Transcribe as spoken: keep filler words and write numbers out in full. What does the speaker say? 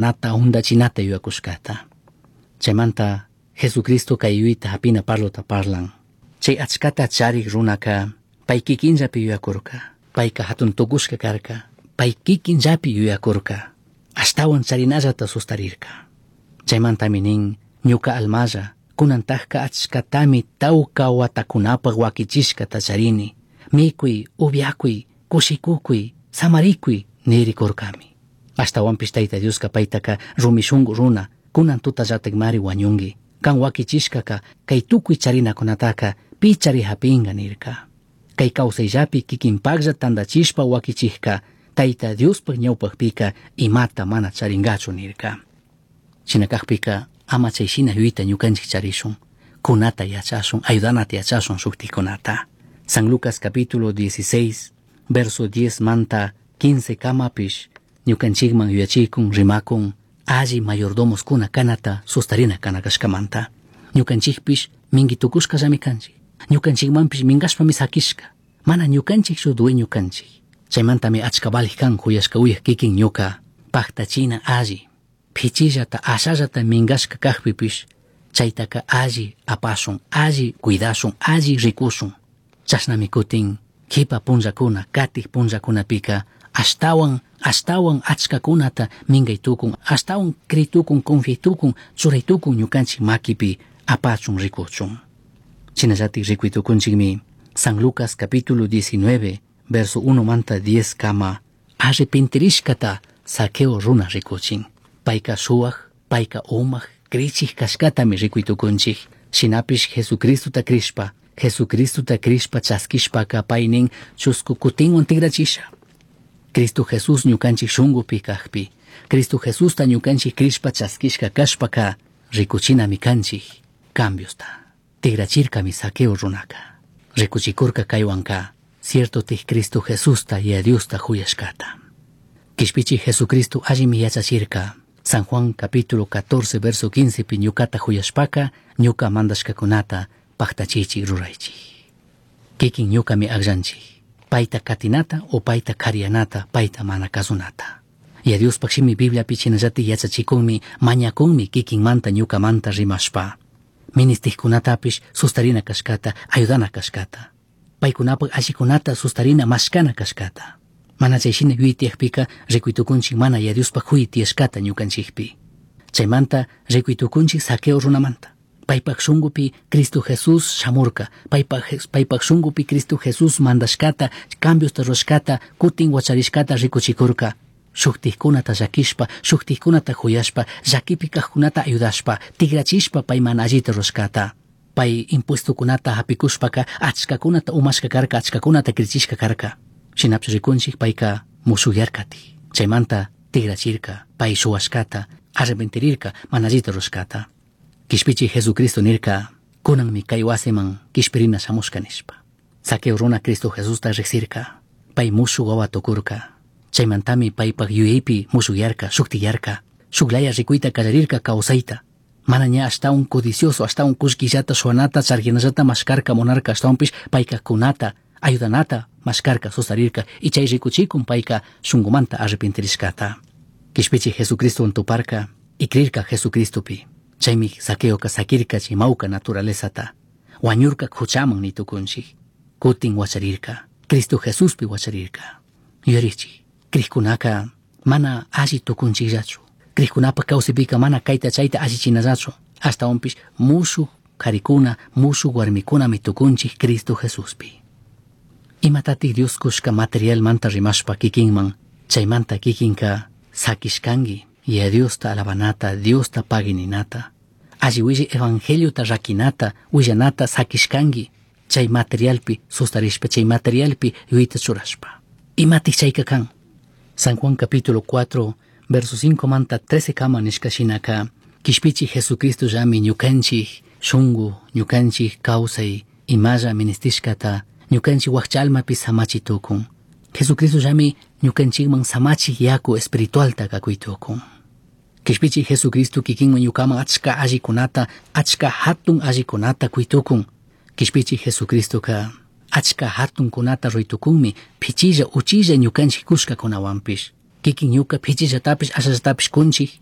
Nata hundachinata yuyakushkata. Chaymanta Jesucristo kay yuyayta hapina parlota parlan. Chay achkata charik runaka pay kikinllapi yuyakurka. Payka hatun tukushka karka. Pay kikinllapi yuyakurka. Ashtawan charinallata sustarirka. Chaymantami nin ñuka almalla kunantajka achkatami tawka watakunapaq wakichishkata charini. Mikuy, upyakuy, kushikukuy, samarikuy nirikurkami. Ashtawanpish Tayta Dioska paytaka rumi shunku runa kunan tutallatakmari wañunki. Kan wakichishkaka kay tukuy charinakunataka pi chari hapinga nirka. Kay kawsayllapi kikinpaklla tantachishpa wakichikka Tayta Diospaq ñawpaqpika imata mana charingachu nirka. Shina kakpika ama chay shina yuyayta ñukanchik charishun. Kunata yachashun, ayudanata yachashun shuktikunata. San Lucas capítulo dieciséis, verso diez manta quince kamapish ñukanchikman yuyachikun rimakun alli mayordomos kuna kanata sustarina kana kashkamanta. Ñukanchikpish mingi tukushkallami kanchik. Ñukanchikmanpish minkashpami sakishka. Mana ñukanchikchu dueño kanchik. Chaymantami achka valij kan huyashka uyaj kikin ñuka paktachina alli. Pichillata ashallata minkashka kakpipish chaytaka alli apashun, alli cuidashun, alli rikushun. Chashnami kutin kipa punllakuna, katik punllakunapika ashtawan, ashtawan achkakunata minkay tukun, ashtawan kritukun, confiay tukun, churay tukun ñukanchik makipi apachun rikuchun. Shinallatik rikuy tukunchikmi San Lucas capítulo diecinueve, verso uno manta diez kama arrepentirishkata Zaqueo runa rikuchin. Payka suwaj, payka umaj, krichik kashkatami rikuy tukunchik. Shinapish Jesucristota krishpa, Jesucristota krishpa chaskishpaka paynin chusku kutinwan tigrachisha. Cristo Jesús ñukanchik shunkupi kakpi, Cristo Jesusta ñukanchik krishpa chaskishka kashpaka rikuchinami kanchik cambiosta. Tigrachirkami Zaqueo runaka. Rikuchikurka kaywanka cierto tij Cristo Jesusta y a Diosta huyashkata. Kishpichi Jesucristo allimi yachachirka. San Juan capítulo catorce verso quince pi ñukata huyashpaka ñuka mandashkakunata paktachichik ruraychik. Kikin ñukami akllanchik. Payta katinata o payta karianata, payta mana kasunata. Y a Diospaq shimi Bibliapi shinallatik yachachikunmi, mañakunmi kikinmanta ñukamanta rimashpa. Ministijkunatapish sustarina kashkata, ayudana kashkata. Paykunapaq allikunata sustarina mashkana kashkata. Mana chay shina yuyay tiyakpika rikuy tukunchik mana ya Diospaq huyay tiyashkata ñukanchikpi. Chaymanta rikuy tukunchik Zaqueo runamanta. Paypaq shunkupi Cristo Jesús shamurka, paypaq, paypaq shunkupi Cristo Jesús mandashkata, cambiosta rurashkata, kutin wacharishkata rikuchikurka. Shuktikkunata llakishpa, shuktikkunata huyashpa, llakipi kajkunata ayudashpa, tigrachishpa pay mana allita rurashkata. Pay impuestokunata hapikushpaka achkakunata umashka karka, achkakunata krichishka karka. Shinapish rikunchik payka mushuyarkati. Chaymanta tigrachirka, pay shuwashkata, arrepentirirka, mana allita rurashkata. Kishpichi Jesucristo nirka, kunanmi kay wasiman kishpirina shamushka nishpa. Zaqueo runa Cristo Jesusta riksirka, pay mushuk wawa tukurka. Chaymantami paypak yuyaypi mushuyarka, shuktiyarka, shuklaya rikuyta kallarirka kawsayta. Mana ña ashtawan codicioso, ashtawan kullkillata shuwanata, charkinallata mashkarka munarka, ashtawanpish payka kunata, ayudanata mashkarka, sustarirka, y chay rikuchikun payka shunkumanta arrepentirishkata. Kishpichi Jesucristo tuparka y krirka Jesucristopi. Chaymi Zaqueoka sakirka chay mawka naturalezata. Wañurka huchaman nitukunchik. Kutin wacharirka. Cristo Jesuspi wacharirka. Yuyarichik, krikkunaka mana alli tukunchikllachu. Krikkunapa kawsaypika mana kayta chayta allichinallachu. Ashtawanpish mushuk karikuna, mushuk warmikunami tukunchik Cristo Jesuspi. Imatatik Dios kushka materialmanta rimashpa kikinman, chaymanta kikinka sakishkanki. Y a Diosta alabanata, Diosta pagininata. Alli willi evangeliota rakinata, willanata sakishkanki. Chay materialpi sustarishpa, chay materialpi yuyayta churashpa. Imatik chayka kan. San Juan capítulo cuatro, verso cinco manta trece kama nishka shinaka, kishpichi Jesucristo llami ñukanchik shunku, ñukanchik kawsay, imalla ministishkata, ñukanchik wakcha almapi samachi tukun. Jesucristo llami ñukanchikman samachik yaku espiritualta kakuy tukun. Kishpichi Jesucristo kikinman ñukaman achka allikunata, achka hatun allikunata kuytukun. Kishpichi Jesucristoka achka hatunkunata ruytukunmi, pichilla uchilla ñukanchik kushkakunawanpish. Kikin ñuka pichillatapish ashallatapish kunchik.